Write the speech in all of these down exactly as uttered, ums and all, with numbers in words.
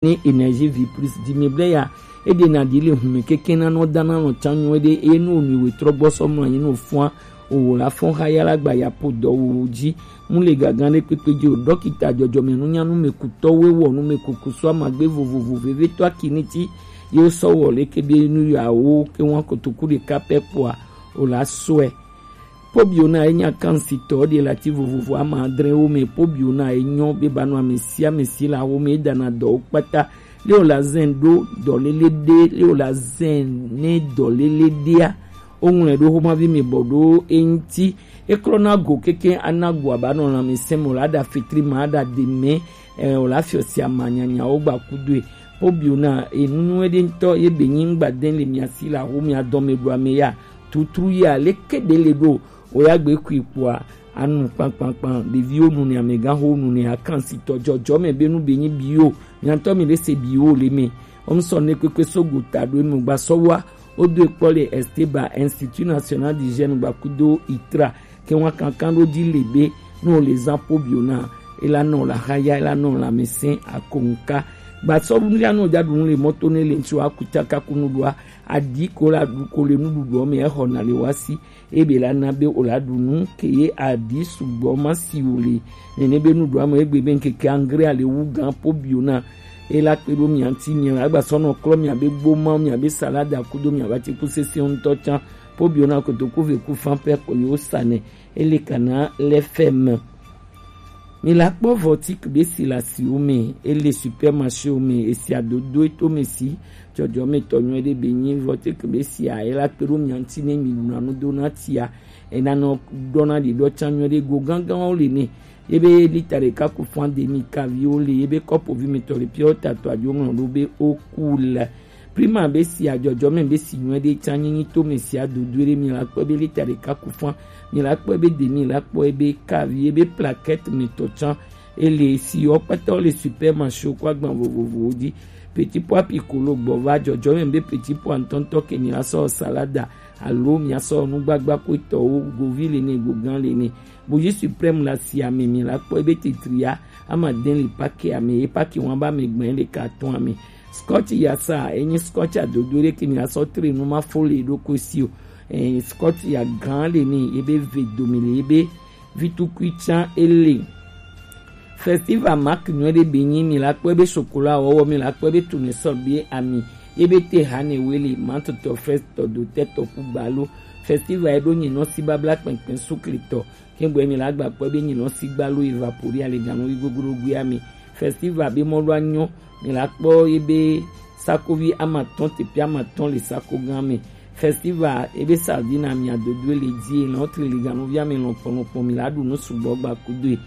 Ni Energie Vie Plus di mi ble ya. Ede na di le hume keke na no dana no chanyo ede e no mi we trogbo so mo anyi no fua. O wo la fon ha ya la gba ya po do wo ji. Mu le gagan le pepe ji o dokita jojo me nu nya nu me ku to we wo nu me ku ku so ma gbe vovovo veve to akini ti. Yo so wo le ke be nu ya o ke won ko to ku de ka pe po a. O la so e. Pobio na e nya kansi to de la ti vovovo ama adre wo me pobio na e nyo be ba no amesi amesi la wo me da na do kpata. Le o la zen do do lele de le o la zen ne do lele de a. O ŋlɔe ɖo xomavi mi bɔ ɖo eŋuti. Eklɔ na go keke ana go aba nɔ lãmesẽ me o la ɖa fetri ma aɖa de mɛ. Ɛ o la fiɔ si ama nyanyawo gba kudoe. Pobio na enunu eɖe ŋutɔ ye be nyi ŋgba de le mia si la ho mia dɔme ɖo ame ya. Tutru ya leke ɖe le ɖo o ya gbe kui kpoa anu kpankpankpan ɖeviwo nu ne amegãxowo nu ne akansitɔ jɔjɔme be nu be nyi biwo. Miantɔ mi ɖe se biwo le me. Omsɔ ne kpekpe so gota ɖo eme gba sɔ wa. Wodo ekpɔ le Esteba, Institut National d'Hygiène gbakudo itra ke wa kankan ɖo dzi le be ne wole zã pobio na ela nɔ la haya ela nɔ la mese akonka. Gba sɔ ɖu ya nɔ dza ɖu nu le mɔto ne le ŋtsi wa kutsaka kunu ɖoa aɖi ko la ɖu ko le nuɖuɖuɔ me exɔ na le wa si. Ebe la na be o la ɖu nu ke ye aɖi sugbɔ ma si o le nene be nuɖuɖua me egbe be ŋkeke angre ale wu gan pobio na. Ela kpe ɖo mia ŋti mia la gba sɔ nɔ klɔ mia be gboma mia be salada kudo mia ba ti ku sese ŋutɔ tsã. Pobio na kotoku ve ku fan pɛ ko yo sa nɛ. Ele kana lɛ fɛ me. Mi la kpɔ Vɔtik be si le asiwo me, ele supermarchéwo me, esi adodo eto me si, jɔjɔmetɔ nyuie ɖe be nyi Vɔtik be sia, ela kpe ɖo mia ŋti ne mi ɖuna nu do na tia, ena nɔ ɖɔna ɖiɖɔ tsã nyuie ɖe go gãgãwo le ne, ye be lita ɖeka ku fan demi kaviwo le, ye be kɔpovi me tɔ le piɔ tatɔ adzo ŋlɔ ɖo be o ku le. Prima be si ajɔjɔme be si nyuie ɖe tsã nyi nyito me si adodoe ɖe mi la kpɔ be lita ɖeka ku fan, mi la kpɔ be demi la kpɔ be kavi be plaquette me tɔ tsã ele si yɔ kpata le supermarché ko agban vovovowo dzi. Petit pois piccolo gbɔ va jɔjɔme be petit pois ŋutɔŋutɔ ke mi la sɔ salada alo mi asɔ nugbagba ko tɔwo govi le ne gogan le ne. Boji suprême la si ame mi la kpɔ be titria ama den le pake ame ye pake wan ba me gbɛn le carton ame. Scotch ya sa enyi scotch adodo ɖe ke mi asɔ tre nu ma fo le ɖo ko si o. Eh, scotch ya gan le ni ebe ve domi le ebe vitukui tsã ele. Festival mark nyuie ɖe be nyi mi la kpɔ ebe chocolat wɔwɔ mi la kpɔ ebe tournesol be ami ebe te hane wele mantotɔ frestɔ dotɛtɔ ku gbalo. Festival eɖo nyinɔ si babla kpɛnkpɛn sukletɔ. Kɛngbɛ mi la gba kpɔ be nyinɔ si gbalo evapori ale ganu yi gogoro gui ami. Festival be mɔ ɖo anyɔ mi la kpɔ ebe sakovi amatɔn tepi amatɔn le sako gan me. Festival ebe sardine ami adodo le die lɔn tri le ganu vi ami lɔn kpɔnɔ kpɔn mi la ɖu nu sugbɔ gba kudoe.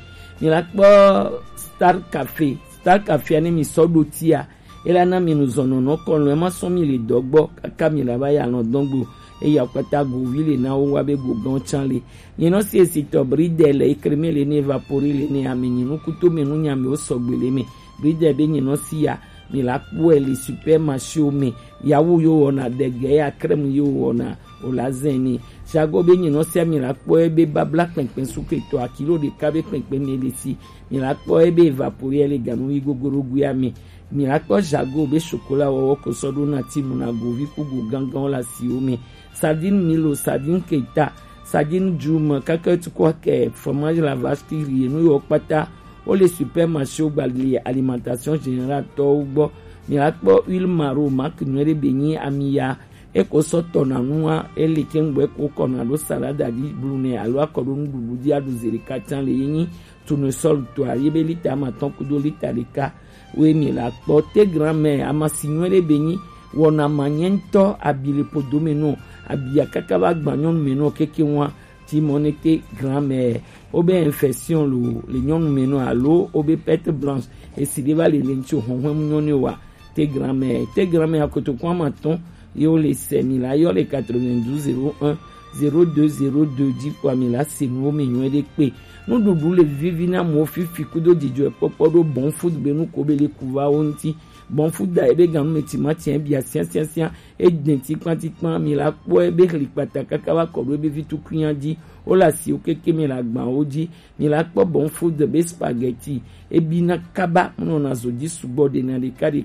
Mi la kpɔ Star Cafe. Star Cafe ane mi sɔ ɖo tia. Ela na mi nu zɔnɔ nɔ kɔlɔn ema sɔ mi le dɔgbɔ kaka mi la ba ya lɔn dɔgbo. Eya kpata govi le na wo wa be gogɔn tsan le. Nyinɔ si esitɔ bridel ekreme le ne evapori le ne ame nyinu kuto me nu nyame wo sɔgbe le me. Bridel be nyinɔ si ya mi la kpɔe le supermarché wo me. Yawu yo wɔna dege ya crème yo wɔna o la zɛn ni. Jago be nyinɔ sia mi la kpɔe be babla kpɛnkpɛn suketɔ akilo ɖeka be kpɛnkpɛn me le si. Mi la kpɔe be evapori le ganu yi gogoro gui ame. Mi la kpɔ jago be chocolat wɔwɔ ko sɔ ɖo na ti mu na govi ku go gangan la si wo me. Sardine Milo, sardine Keita, sardine Juma, kaka ti kɔ kɛ fromage la vache qui rit, nu yɔ kpata. Wo le supermarché wo gba le alimentation générale tɔwo gbɔ. Mi la kpɔ huile maro marque nyuie ɖe be nyi ami ya. Eko sɔ tɔ na nua ele ke ŋgbɛ ko kɔ na ɖo salada di blu ne alo akɔ ɖo nuɖuɖu di aɖu zeri katã le ye nyi. Tournesol tɔa ye be lita amatɔn kudo lita ɖeka. Wo mi la kpɔ te grand-mère amasi nyuie ɖe be nyi wɔna manyɛ ŋutɔ abi le podo me nɔ abia kaka va gba nyɔnu me nɔ keke wa ti mɔ ne te grand-mère wo be infection lo le nyɔnu me nɔ alo wo be perte blanche esi ɖe va le le ŋutsu hɔnhɔn mu nyɔnu wa te grand-mère te grand-mère akotoko amatɔn ye wo le sɛ mi la yɔ le quatre-vingt-douze zéro un zéro deux zéro deux ji kpo ami la se nuwo mi nyuie ɖe kpe. Nuɖuɖu le vivi na mo fifi kudo dzidzɔ kpɔkpɔ ɖo Bon Food be nu ko be le ku va wo ŋuti. Bon Food da ebe ganu me timati e bia siã siã siã, e dɛn tikpan tikpan, mi la kpɔ ebe xli kpata kaka va kɔ ɖo ebe vi tukunya ji. Wo la si wo keke mi la gban wo ji. Mi la kpɔ Bon Food be spaghetti, ebi na kaba, mo nɔ na zo ji sugbɔ ɖe na ɖeka ɖeka.